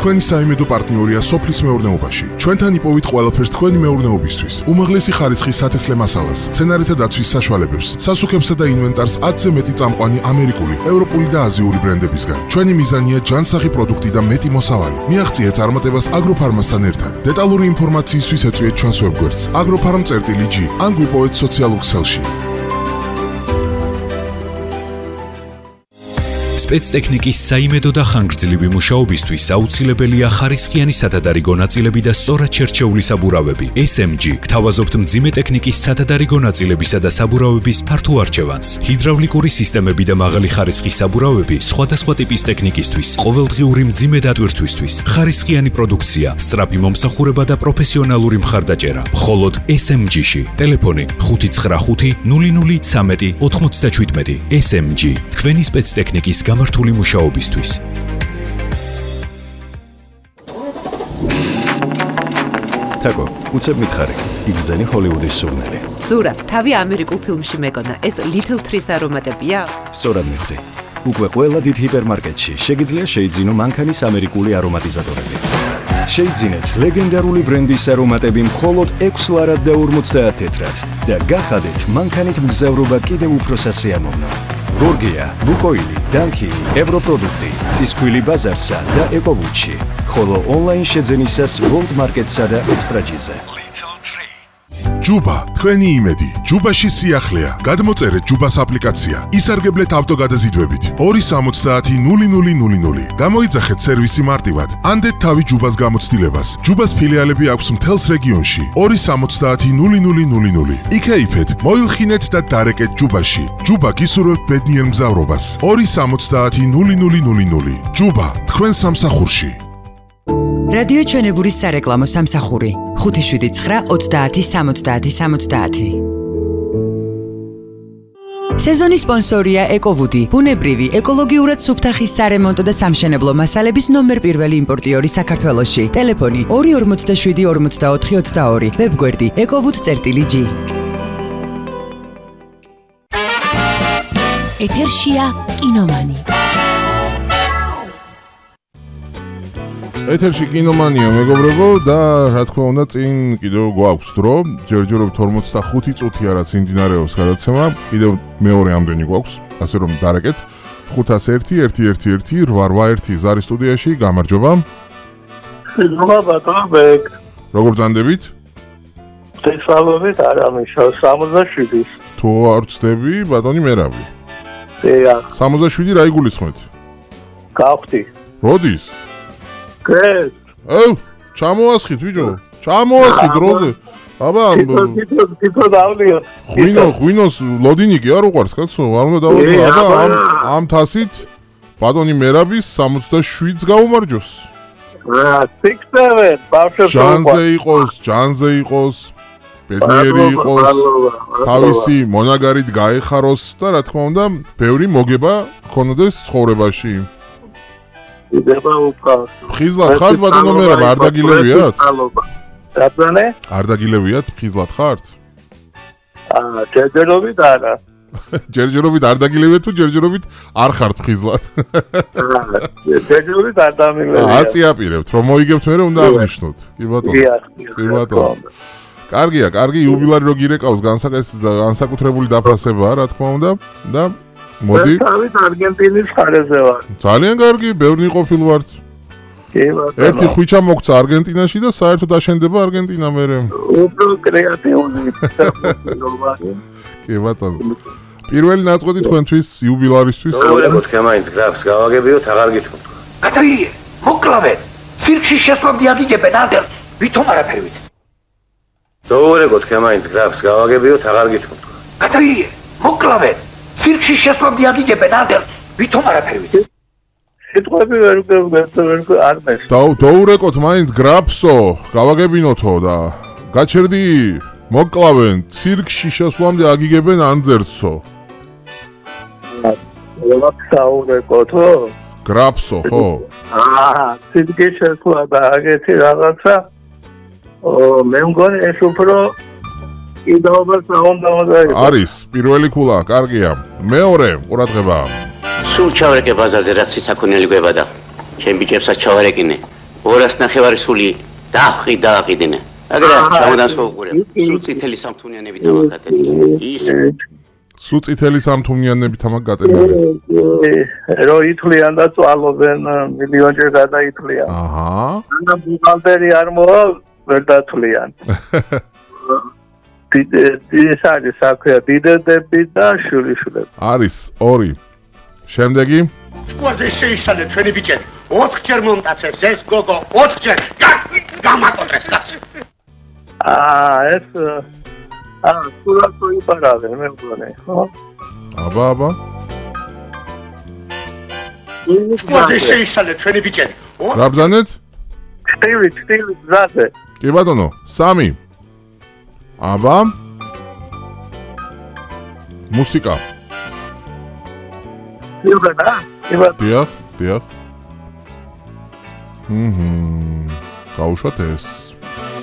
თქვენი საიმედო პარტნიორია სოფლის მეურნეობაში. ჩვენთან იპოვით ყველაფერს თქვენი მეურნეობისთვის. უმაღლესი ხარისხის სათესლე მასალას, მცენარეთა დაცვის საშუალებებს, სასუქებსა და ინვენტარს 10-ზე მეტი წამყვანი ამერიკული, ევროპული და აზიური ბრენდებისგან. ჩვენი მიზანია ჯანსაღი პროდუქტი და მეტი მოსავალი. მიაღწიეთ წარმატებას აგროფარმასთან ერთად. დეტალური ინფორმაციისთვის ეწვიეთ ჩვენს ვებგვერდს agroffarm.g ან გვიპოვეთ სოციალურ ქსელში. სპეცტექნიკის საიმედო და ხანგრძლივი მუშაობისთვის აუცილებელია ხარისხიანი სათადარიგო ნაწილები და სწორად შერჩეული საბურავები. SMG გთავაზობთ მძიმე ტექნიკის სათადარიგო ნაწილებისა და საბურავების ფართო არჩევანს. ჰიდრავლიკური სისტემები და მაღალი ხარისხის საბურავები სხვადასხვა ტიპის ტექნიკისთვის, ყოველდღიური მძიმე დატვირთვისთვის, ხარისხიანი პროდუქცია, სწრაფი მომსახურება და პროფესიონალური მხარდაჭერა. მხოლოდ SMG-ში. ტელეფონი 595 0013 97. SMG თქვენი სპეცტექნიკის გამართული მუშაობისთვის. თაკო, უცებ მითხარი, იგზენი ჰოლივუდის სურნელი. ზურა, თავი ამერიკულ ფილმში მეკონა, ეს Little Trees არომატებია? სწორად მიხვდი. უკვე ყველა დიდ ჰიპერმარკეტში შეგიძლია შეიძინო მანქანის ამერიკული არომატიზატორები. შეიძინეთ ლეგენდარული ბრენდის არომატები მხოლოდ 6 ლარად და 50 თეთრად და გახადეთ მანქანით მგზავრობა კიდევ უფრო სასიამოვნო. გორგია, ბუკოილი, დანკი, ევროპროდუქტი, ცისქვილი ბაზარსა და ეკოვუჩი. ხოლო ონლაინ შეძენისას World Market-სა და Extra-ზე. ჯუბა, თქვენი იმედი. ჯუბაში სიახლეა. გადმოწერეთ ჯუბას აპლიკაცია. ისარგებლეთ ავტოგადაზიდვებით. 270 0000. გამოიძახეთ სერვისი მარტივად. ანდეთ თავი ჯუბას გამოცდილებას. ჯუბას ფილიალები აქვს მთელს რეგიონში. 270 0000. იქეიფეთ, მოილხინეთ და დარეკეთ ჯუბაში. ჯუბა გისურვებთ ბედნიერ მგზავრობას. 270 0000. ჯუბა, თქვენ სამსახურში. რადიო ჩვენებურის სარეკლამო სამსახური 579-30-70-70. სეზონის სპონსორია ეკოვუდი, ბუნებრივი, ეკოლოგიურად სუფთა ხის სარემონტო და სამშენებლო მასალების ნომერ პირველი იმპორტიორი საქართველოში. ტელეფონი 247-44-22, ვებგვერდი ekovud.g. ეთერშია კინომანი. ეთერში კინომანია მეგობრებო და რა თქმა უნდა წინ კიდევ გვაქვს დრო ჯერჯერობით 45 წუთია რაც იმდინარეობს გადაცემა კიდევ მეორე ამდენი გვაქვს ასე რომ დარეკეთ 501-111-881 ზარი სტუდიაში გამარჯობა ბატონბეკ როგორ ძანდებით տեսალობით არამიშავ 67 თუ არ ვწდები ბატონი მერავი 67 რა იგულისხმეთ გავხდი როდის კეთ ჩამოასხით ბიჭო ჩამოასხით დროზე აბა თვითონ დავლია ღვინოს ლოდინიკი არ უყარს კაცო არ უნდა დავაწყო აბა ამ თასით ბატონი მერაბის 67-ს გაუმარჯოს სიქსევენ ბავშვებს ჯანზე იყოს ბედნიერი იყოს თავისი მონაგარით გაეხაროს და რა თქმა უნდა ბევრი მოგება ქონოდეს ცხოვრებაში იდება უფას. ხიზლად ხართ ბატონო მერაბ არ დაგილევიათ? რატონე? არ დაგილევიათ ხიზლად ხართ? ჯერჯერობით არა. ჯერჯერობით არ დაგილევიათ თუ ჯერჯერობით არ ხართ ხიზლად? ჯერჯერობით არ დამილევიათ. აწიაპირებთ რომ მოიგებთ მერე უნდა აღნიშნოთ. კი ბატონო. კი ბატონო. კარგია, კარგი იუბილარი რო გირეკავს განსაკუთრებული დაფასებაა რა თქმა უნდა და მოდი. თავით არგენტინის ხარეზე ვარ. ძალიან კარგი, ბევრი ყოფილ ვართ. კი ბატონო. ერთი ხვიჩა მოგცა არგენტინაში და საერთოდ აშენდება არგენტინა მერე. უფრო კრეატიული. კი ბატონო. პირველი ნაწყვეტი თქვენთვის იუბილარისთვის. როგორ თქვენ გრაფს გავაგებიოთ, აღარ გითხოვთ. კატრიე, მოკლავე. ფირკში შესვამდი აგიგებენ ანდერ. ვითომ არაფერი ვიცი. როგორ თქვენ გრაფს გავაგებიოთ, აღარ გითხოვთ. კატრიე, მოკლავე. ფირკში შესვამდი აგიგებენ ანდერ. ვითომ არაფერი ვიცი. სიტყვები ვერ არ მეს. დაურეკოთ მაინც გრაფსო, გავაგებინოთო და გაჩერდი მოკლავენ ცირკში შესვლამდე აგიგებენ ანდერცო. დაურეკოთო? გრაფსო, ხო? ცირკში შესვლა და აგეთი რაღაცა. მე მგონი ეს უფრო იდაობას უნდა არის პირველი ქულა, კარგია. მეორე ყურადღება. სულ ჩავარეკე ბაზარზე რაც სისაქონელი გვებადა. ჩემ ბიჭებსაც ჩავარეკინე. 200 სული დააყიდინე. აგრა ჩამოდანს მოუყურებ. სულ წითელი სამთუნიანებით ამაგატენილი. ის სულ წითელი სამთუნიანებით ამაგატენილი. რო ითვლიან და წვალობენ მილიონჯერ გადაითვლიან. აჰა. და ბუღალტერი არ მოვა ვერ დათვლიან. ეს არის საქმე დიდედები და შვილიშვილები. არის 2. შემდეგი სკوازე შეიშალე ჩვენი ბიჭები 4-ჯერ მომტაცეს ეს გოგო 4-ჯერ გამაკოტრეს კაცი ეს სულად მოიპარავენ მე მგონი ხო აბა სკوازე შეიშალე ჩვენი ბიჭები რა ბრძანეთ? სტილი ზაზე კი ბატონო 3 აბა მუსიკა დიახ გაუშვათ ეს